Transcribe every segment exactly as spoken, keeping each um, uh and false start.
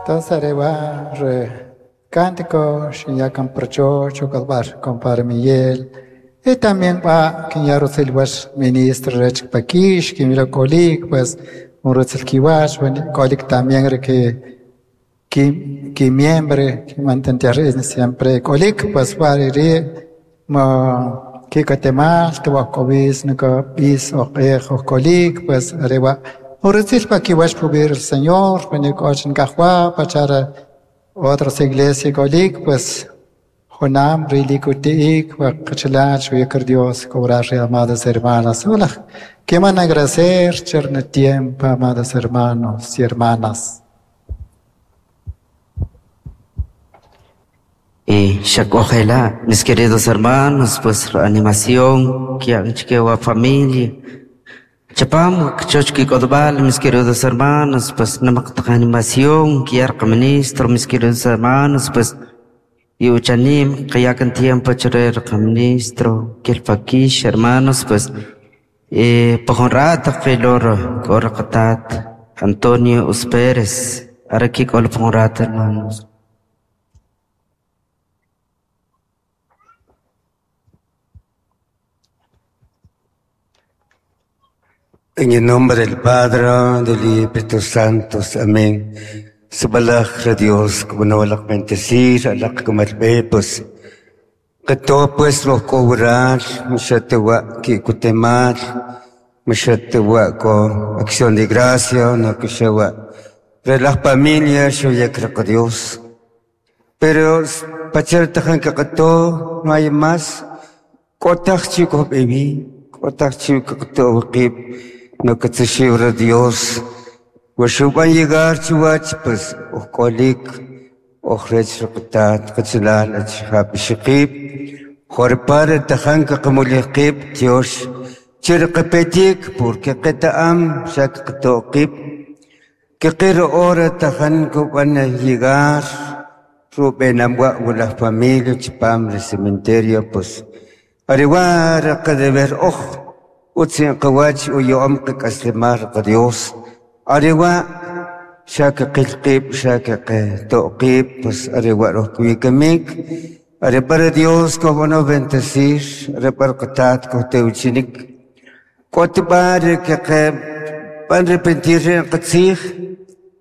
Entonces areba re cántico xinyakan prochocho kalbar compadre Miguel y también va quinyaro silwas ministro rech pakish kimira kolik pues un rotzil kiwash kolik también re que que que miembre que mantentar siempre kolik pues va ri ma que katemal te wa kobis no bis o qejo kolik pues areba un rotzil pa kiwash pubir el Señor venikoch nkajwa pachara otras iglesias kolik pues Jonam rilikutiik wakachalach uyakar Dios cobrar amadas hermanas. Hola, que van a agradecer cherne tiempo, amadas hermanos y hermanas. Y shakojela, mis queridos hermanos, pues animación, que familia. Chapam, chochki kodbal, mis queridos hermanos, pues namaktak animación, que ministro, mis queridos hermanos, pues y uchanim, que ya con tiempo chorer ministro, que el paquish, hermanos, pues eh, pojonrata, que loro, corracatat, Antonio Uspérez, aquí con ponrata, hermanos. En el nombre del Padre, del Espíritu Santo, amén. Subalak ra Dios, como no walak bendecir, alak kumalbe, pues, que todo pues lo cobrar, mushatewa ki kutemal, mushatewa ko acción de gracia, no que shewa, de la familia, yo ya creo que Dios. Pero, pachar tajan que todo, no hay más, kotak chico baby, kotak chico que todo, no que te Dios. Washuban llegar chiwach pues ojkolik ojrech rqtat qchlal achhab shiqib jorpar tajan qmuliqib Dios chirqpetik porque qetaam shak qtoqib que qir ora tajan van a llegar rubenamwa la familia chpam el cementerio pues ariwar qdeber oj utsin qwach uyom qaslimar Dios Ariwa shaka qilqib shaka toqib pues ariwa rohkuikamik are para Dios como no bendecir are para qatat ko teuchinik kotbar que que van arrepentir en qatsij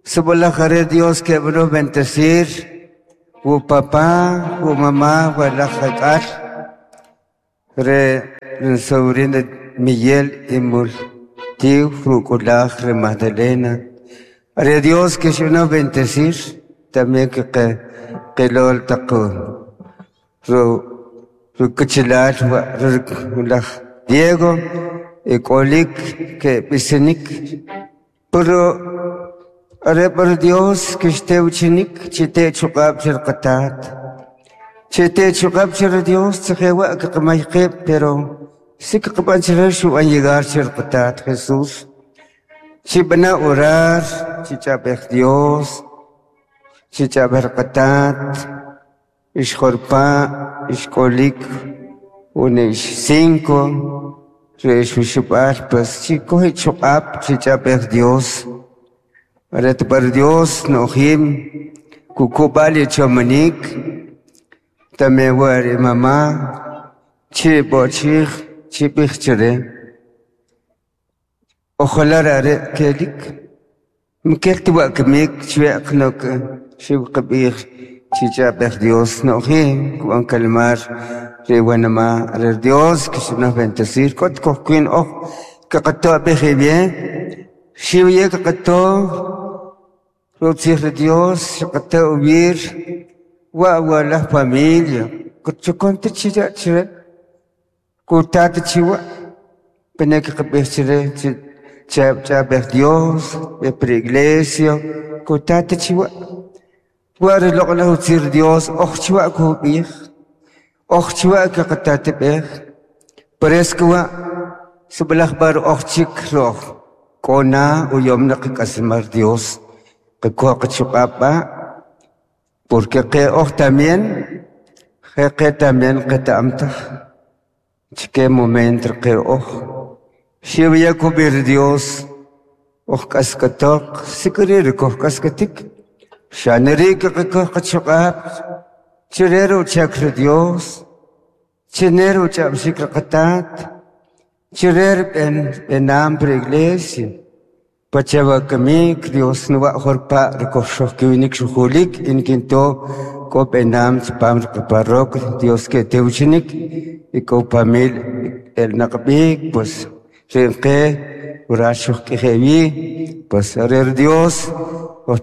subola jare Dios que no bendecir u papá u mamá wala jakal re sobrina Miguel y Mul Tío Fruculaj, Magdalena. Are Dios que se no bendecir, también que que que lo taco. Ru ru kuchilal ru Diego y kolik que pisenik. Pero are por Dios que esté uchinik, chite chukab chirqatat. Chite chukab chir Dios, tsewa que kamayqib, pero sí que van a llegar a Jesús. Si van a orar, si chaber Dios, si chaber qatat, ishjorpa, ishkolik, un cinco, reishushupar, pues si coge chukap, si chaber Dios. Para para Dios, no him, kukubali chomanik, también wari mamá, chi bochich. Chipichere. Ojalá are kelik. Mkelti wa kmik chweq nok shiw qabij chichaber Dios no hi kuan kalmar re wanama re Dios que se nos bendecir kot kohkin oh que qato beje bien shiw ye qato rotzir Dios qato ubir wa wa la familia kuchukonte chira chira Kutat chiwa, penek qabichere, chab chaber Dios, per iglesia, kutat chiwa. War loqla utsir Dios, och chiwa kubir, och chiwa ka qatat ber. Preskwa, sublach bar och chik roh, kona uyom naqik asmar Dios, qikwa qchuqapa, porque que och también, que también qetamtaj. Qué momento que oh, si voy a cubrir Dios, oh cascatok, si querer oh cascatik, Xaneri qaqachuq'ab' chirero chakra Dios, chinero ch'ab'xik qatat, chirer ben benam pre iglesia. Pachawakamik Dios nuwa jorpa rikoxoj kiwinik xujulik inkinto ko benam chpam parroquia Dios que teuchinik y ko pamil el naqbik pues rinqe uraxuj k'ijewi pues arer Dios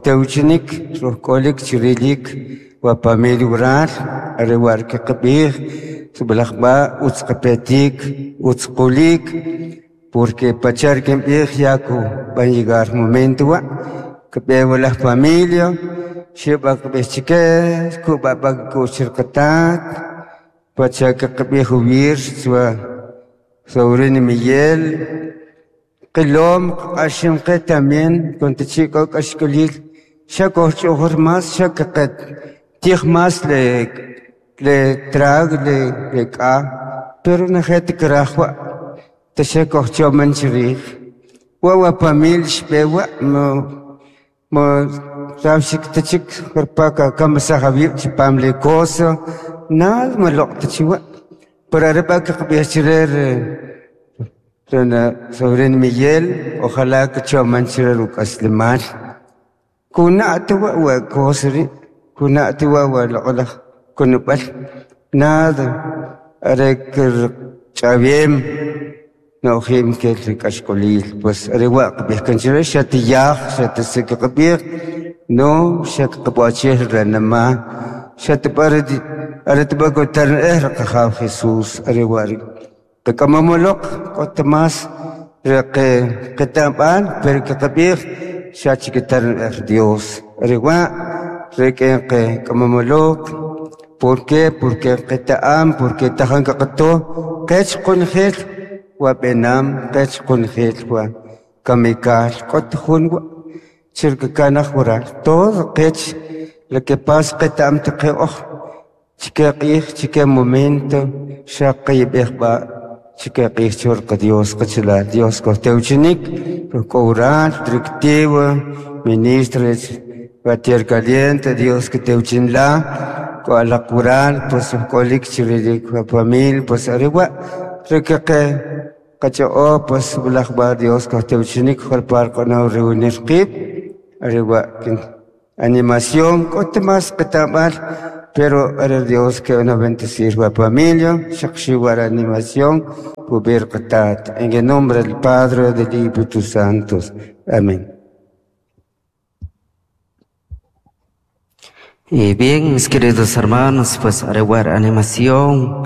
teuchinik rojk'olik chirilik wa pamil ural arewar kiqb'ij sublajb'a utzqapetik utzqulik porque pachar kinb'ij yaku van llegar momento wa que veo la familia xib'a kb'ij chike kub'a kuchirqatat pacha kqb'ij uwir swa Sobrino Miguel qilom q'aximqe también con tichiko k'axk'olil xa kojch'ujur mas xa kaqet tij mas le le trag le le k'a pero najet krajwa taxa kojchoman chirij wa wa pamil xb'ewa mo mo rawxik tachik jorpaka kamasajawib chipam le cosa nada maloq tachiwa pero areba kaqb'ij chirer rena Sobrino Miguel ojalá que choman chirer uk'aslimal kuna'tuwa wa kosri kuna'tuwa wa loq'laj kunub'al nada are ch'awem no'jim kel k'axk'olil pues are wa qb'ij kan chire xatiyaj xatisik qb'ij no xakqb'achij renama xatb'ar are tb'akotar'ej qajaw Jesús are wa qak'amamoloq k'ot mas re qeta'mb'al pero qaqb'ij xachikitar'ej Dios are wa re qe k'amamoloq ¿Por qué? Porque qeta'am porque tajan qaqto qech qunjel wa b'enam qech qunjel wa kamikal k'ot jun wa chirkakanaj waral todo qech lo que pasa qeta'am taqe oj chike q'ij chike momento xa qeyb'ej b'a chike q'ij chorqa Dios qachalal Dios kojtewchinik ruk'owral directivo ministro Batier Caliente Dios que tewchinla ko alaq pues k'olik chirilik wa familia pues arewa rekeqe qacha'o pues bulaj ba Dios kojtewchinik jorpar q'onaw reunir qib' arewa animación k'ot mas qeta'mb'al pero are Dios que una bendecir wa familia xaqxiwar animación pubir qatat en el nombre del Padre del Espíritu Santo. Amén. Y bien, mis queridos hermanos, pues areguar animación,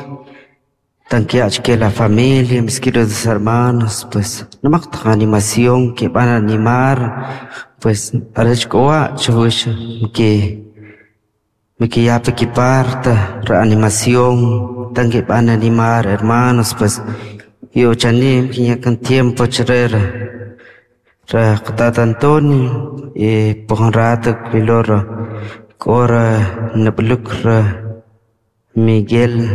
tanque que la familia, mis queridos hermanos, pues no más animación que van a animar, pues arechkoa, chush, que me que ya que parta, reanimación, tan que van a animar, hermanos, pues yo chanim, que ya con tiempo chrera, ra Antonio, y por un rato, que Cora Nablukra Miguel.